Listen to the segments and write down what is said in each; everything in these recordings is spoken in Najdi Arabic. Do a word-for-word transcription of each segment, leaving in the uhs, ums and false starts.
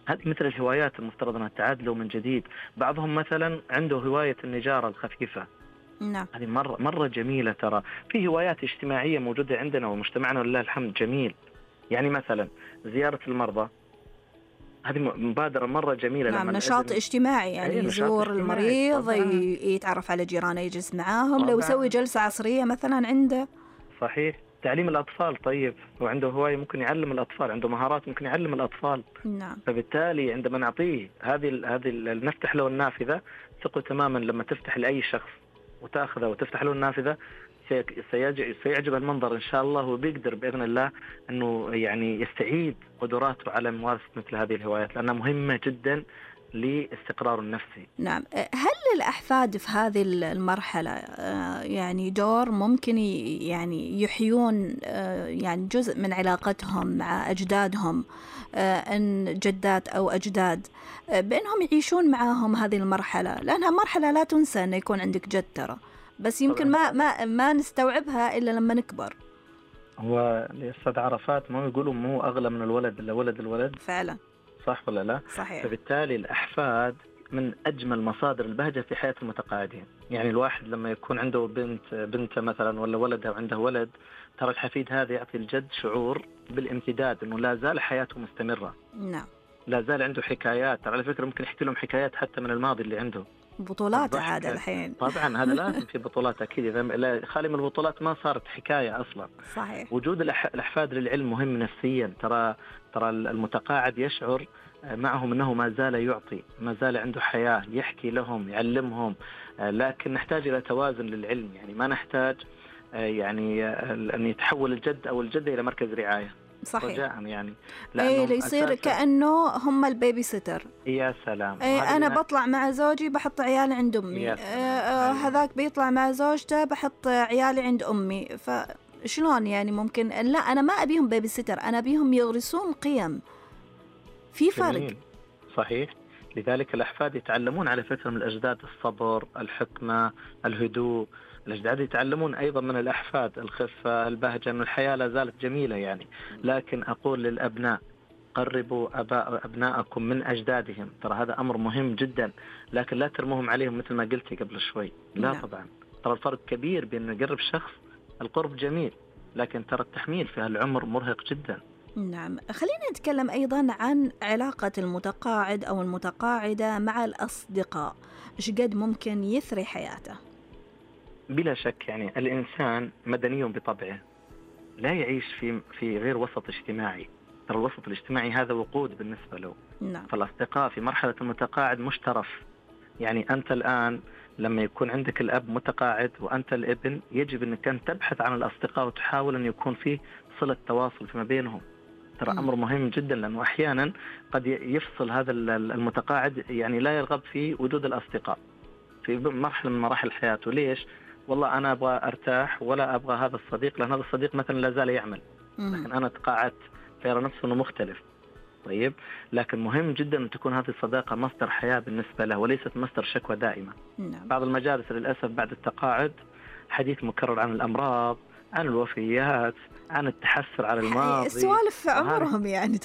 هذه مثل الهوايات المفترض أنها تعادله من جديد. بعضهم مثلا عنده هواية النجارة الخفيفة، نعم. هذه مرة مرة جميلة. ترى في هوايات اجتماعية موجودة عندنا ومجتمعنا ولله الحمد جميل. يعني مثلا زيارة المرضى، هذه مبادرة مرة جميلة. نعم، لما نشاط الإذن... اجتماعي، يعني أيه يزور المريض، طبعاً. يتعرف على جيرانه، يجلس معاهم، طبعاً. لو يسوي جلسة عصرية مثلا عنده. صحيح. تعليم الأطفال، طيب هو عنده هواية ممكن يعلم الأطفال، عنده مهارات ممكن يعلم الأطفال. نعم. فبالتالي عندما نعطيه هذه ال هذه ال نفتح له النافذة، ثقوا تماما لما تفتح لأي شخص وتأخذه وتفتح له النافذة سيعجب المنظر إن شاء الله، وبيقدر بإذن الله أنه يعني يستعيد قدراته على ممارسة مثل هذه الهوايات، لأنها مهمة جدا لاستقرار النفسي. نعم. هل الأحفاد في هذه المرحلة يعني دور ممكن يعني يحيون يعني جزء من علاقتهم مع أجدادهم، أن جدات أو أجداد، بأنهم يعيشون معهم هذه المرحلة، لأنها مرحلة لا تنسى أن يكون عندك جد ترى، بس يمكن ما ما ما نستوعبها إلا لما نكبر. هو الأستاذ عرفات ما يقولوا مو أغلى من الولد إلا ولد الولد، فعلا صح ولا لا؟ صحيح. فبالتالي الأحفاد من أجمل مصادر البهجة في حياة المتقاعدين. يعني الواحد لما يكون عنده بنت بنته مثلا ولا ولدها وعنده ولد، ترى الحفيد هذا يعطي الجد شعور بالامتداد، إنه لا زال حياته مستمرة. نعم. لا زال عنده حكايات، ترى على فكرة ممكن يحكي لهم حكايات حتى من الماضي اللي عنده. بطولات عاد الحين. طبعا هذا لازم في بطولات أكيد، إذا خالي من البطولات ما صارت حكاية أصلا. صحيح. وجود الأحفاد للعلم مهم نفسيا. ترى ترى المتقاعد يشعر معهم أنه ما زال يعطي، ما زال عنده حياة، يحكي لهم، يعلمهم. لكن نحتاج إلى توازن للعلم، يعني ما نحتاج يعني أن يتحول الجد أو الجدة إلى مركز رعاية. صحيح. رجاء يعني ايه ليصير كأنه هم البيبي ستر. يا سلام. ايه انا بطلع مع زوجي بحط عيالي عند امي، آه هذاك بيطلع مع زوجته بحط عيالي عند امي. فشلون يعني ممكن؟ لا انا ما ابيهم بيبي ستر، انا ابيهم يورثون قيم. في فرق. صحيح. لذلك الأحفاد يتعلمون على فكرة من الأجداد الصبر، الحكمة، الهدوء. الأجداد يتعلمون أيضا من الأحفاد الخفة، البهجة، أن الحياة لا زالت جميلة يعني. لكن أقول للأبناء قربوا أباء أبناءكم من أجدادهم، ترى هذا أمر مهم جدا. لكن لا ترموهم عليهم مثل ما قلتي قبل شوي، لا نعم. طبعا. ترى الفرق كبير بين نقرب شخص، القرب جميل، لكن ترى التحميل في هالعمر مرهق جدا. نعم. خلينا نتكلم أيضا عن علاقة المتقاعد أو المتقاعدة مع الأصدقاء، إيش قد ممكن يثري حياته؟ بلا شك يعني الإنسان مدني بطبعه، لا يعيش في في غير وسط اجتماعي. ترى الوسط الاجتماعي هذا وقود بالنسبة له. نعم. فالأصدقاء في مرحلة المتقاعد مشترف. يعني أنت الآن لما يكون عندك الأب متقاعد وأنت الابن، يجب أنك أن تبحث عن الأصدقاء وتحاول أن يكون فيه صلة تواصل فيما بينهم. ترى أمر مهم جدا، لأنه أحيانا قد يفصل هذا المتقاعد، يعني لا يرغب في وجود الأصدقاء في مرحلة من مراحل حياته. ليش؟ والله أنا أبغى أرتاح ولا أبغى هذا الصديق، لأن هذا الصديق مثلا لا زال يعمل، لكن أنا تقاعدت فيرى نفسه أنه مختلف. طيب، لكن مهم جدا أن تكون هذه الصداقة مصدر حياة بالنسبة له وليست مصدر شكوى دائمة. نعم. بعض المجالس للأسف بعد التقاعد حديث مكرر عن الأمراض، عن الوفيات، عن التحسر على الماضي، سوالف عمرهم يعني.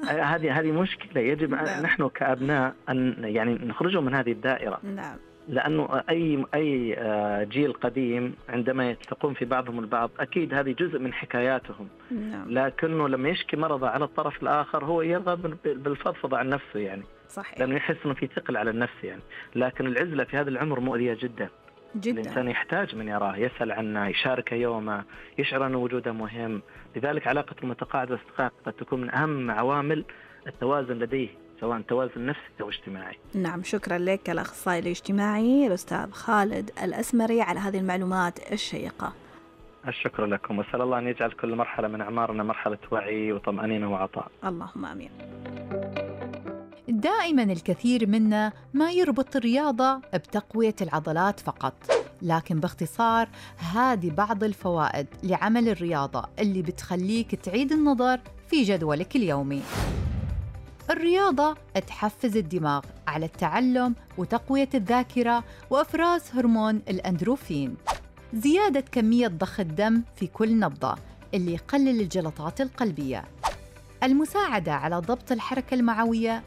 هذه هذه مشكلة يجب نعم. أن نحن كأبناء أن يعني نخرجوا من هذه الدائرة. نعم. لأنه أي أي جيل قديم عندما يلتقون في بعضهم البعض أكيد هذه جزء من حكاياتهم. نعم. لكنه لما يشكي مرضه على الطرف الآخر هو يرغب بالفضفضة عن نفسه يعني. صحيح. لأنه يحس إنه في ثقل على النفس يعني. لكن العزلة في هذا العمر مؤذية جدا. جدا. الإنسان يحتاج من يراه، يسأل عنه، يشارك يومه، يشعر أن وجوده مهم. لذلك علاقة المتقاعد والأصدقاء قد تكون من أهم عوامل التوازن لديه، سواء توازن نفسي أو اجتماعي. نعم. شكرا لك الأخصائي الاجتماعي الأستاذ خالد الأسمري على هذه المعلومات الشيقة. الشكر لكم، وأسأل الله أن يجعل كل مرحلة من أعمارنا مرحلة وعي وطمأنينة وعطاء. اللهم آمين. دائما الكثير منا ما يربط الرياضة بتقوية العضلات فقط، لكن باختصار هذه بعض الفوائد لعمل الرياضة اللي بتخليك تعيد النظر في جدولك اليومي. الرياضة تحفز الدماغ على التعلم وتقوية الذاكرة وإفراز هرمون الأندروفين، زيادة كمية ضخ الدم في كل نبضة اللي يقلل الجلطات القلبية، المساعدة على ضبط الحركة المعوية